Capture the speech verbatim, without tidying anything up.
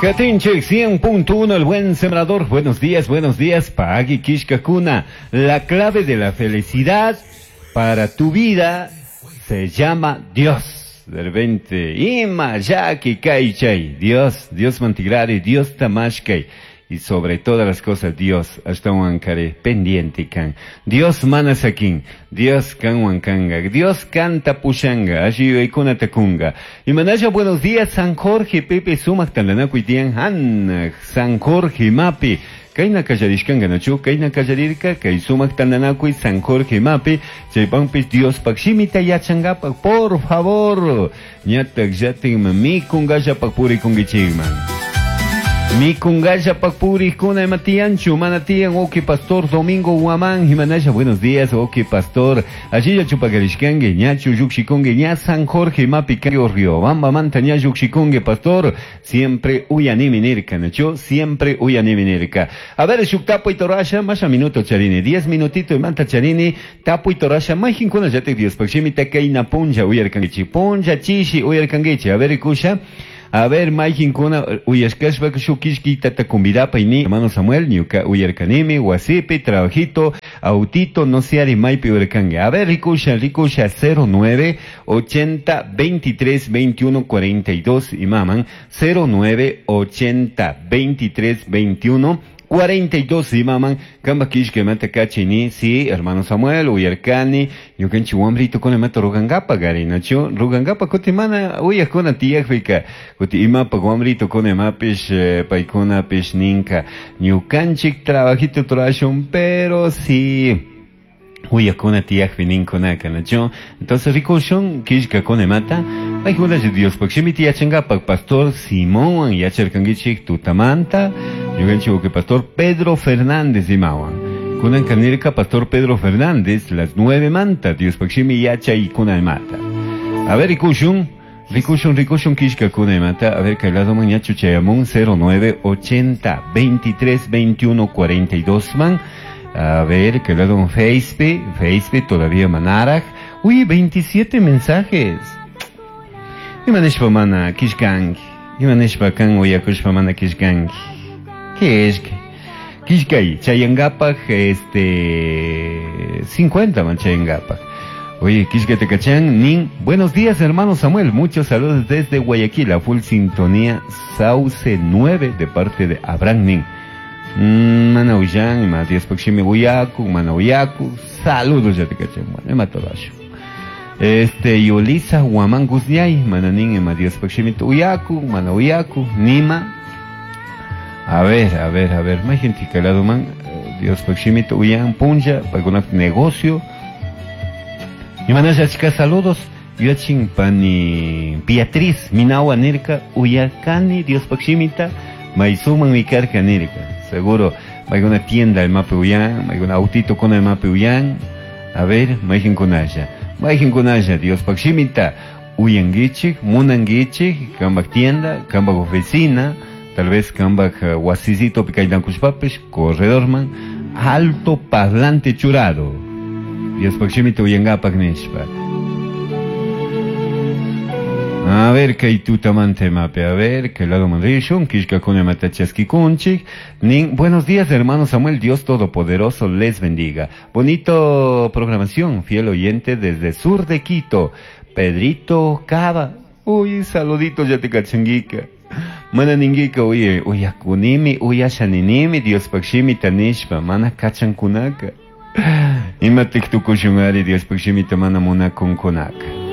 Katinchik cien punto uno, el buen sembrador. Buenos días, buenos días, Pagui Kishkakuna. La clave de la felicidad para tu vida se llama Dios. De repente, Ima, Yaki, Kaichay. Dios, Dios mantigrari, Dios tamashkay. Y sobre todas las cosas, Dios, hasta huancare, pendiente can. Dios manasakin, Dios can huancanga, Dios canta pushanga, allí ikuna tacunga. Y manaya, buenos días, San Jorge, Pepe, Sumac, Tandanacuitian, Han, San Jorge, Mapi. Kayna kallarishkanka nachu, kayna kallarirka, kay sumak tandanakuy San Jorge Mapi, chaypanpis Dios pakshimita yachangapak, por favor, ñatak llatin mikungallapak purikunkichikman. Mikungalla pakpurikuna imatianchu, mana tiyan, oki pastor Domingo Guamán, Jimanaya, buenos días, oki pastor, allí ya chupacarishkangue, ñachu yukshikungue, ña San Jorge Mapi Riobamba manta ña yukshikungue, pastor, siempre uyaniminirka, nachu, siempre uyaniminirka. A ver, shuk tapu y torasha, masha minuto charini, diez minutito y manta charini, tapu y torasha, majinkuna yate Dios pakshimita kayna punja uyarkanguichi, punja chishi uyarkanguichi, a ver, kusha. A ver, mayjinkuna, uyashkashpa shukishkita takumbirapa y hermano Samuel, ñuka uyarkanimi, wasipi, trabajito, autito, no seari maypi uyarkangue. A ver, rikusha, rikusha, cero nueve, ochenta, veintitrés, veintiuno, cuarenta y dos, y maman, cero nueve, ochenta, veintitrés, veintiuno, cuarenta y dos, y maman, kamba kishke mata kachini, sí, hermano Samuel, uyarkani, ñukanchi wambrito con mata rugangapa, gari, nacho, rugangapa, kutimana, uyakuna tiyakfika, kuti imapa wambrito con mapish, paikuna pish ninka, ñukanchik trabajito trashun, pero sí. Uyakuna tiyakfi ninkunaka, nacho. Entonces, rikushun, kishka con mata, paikuna Dios, pakshimi tiyachangapa, pastor Simón, yacharkangichik tutamanta, ñukanchik que pastor Pedro Fernández imawan. Kunan kanirka pastor Pedro Fernández, las nueve manta, Dios pakshimi yacha y kuna mata. A ver, rikushun, rikushun, rikushun, kishka kuna mata, a ver, kailado mañachu chayamun, cero nueve, ochenta, veintitrés, veintiuno, cuarenta y dos man. A ver, que lado un Facebook, Facebook todavía manaraj. Uy, veintisiete mensajes. Imanishpa mana kishkanki. Imanishpa kan uyakushpa mana kishkanki. ¿Qué es? Kishkay, chayangapaj, este, cincuenta man chayangapaj. Oye, Kishkatecachán, nin. Buenos días, hermano Samuel. Muchos saludos desde Guayaquil, a full sintonía Sauce nueve de parte de Abraham Nin. Mana uyan, ma Dios pakshimi uyaku, mana uyaku, saludos ya te caché, bueno, matolacho. Este, Yolisa Guamán Guzñay, mananin, ma Dios pakshimi uyaku, mana uyaku, nima. A ver, a ver, a ver, más gente que lado man, Dios pakshimi uyan, punja, para negocio. Y manaya chica, saludos. Yachin pani Beatriz, Minawa nirka, uyakani, Dios pakshimita, maisuman mikarka nirka. Seguro, hay una tienda el mape uyan, hay un autito con el mape uyan. A ver, maijin kunaya. Maijin kunaya, Dios pakshimita, uyangichik, munangichik, kambak tienda, kambak oficina, tal vez kambak uh, wasisito picaydankushpapish, corredor man, alto parlante churado. Dios pakshimita uyangapak nishpa. A ver, kay tutamante mape, a ver, que lado mandrishun, kishka kune matachaski kunchik. Nin, buenos días, hermano Samuel, Dios Todopoderoso les bendiga. Bonito programación, fiel oyente desde sur de Quito, Pedrito Cava. Uy, saludito ya te cachanguica. Mana ninguica, oye, oye, akunimi, oye, ashaninimi, Dios pakshimi tanishpa, mana kachankunaka. Ima tiktukushungari, Dios pakshimi tamana muna kunkunaka.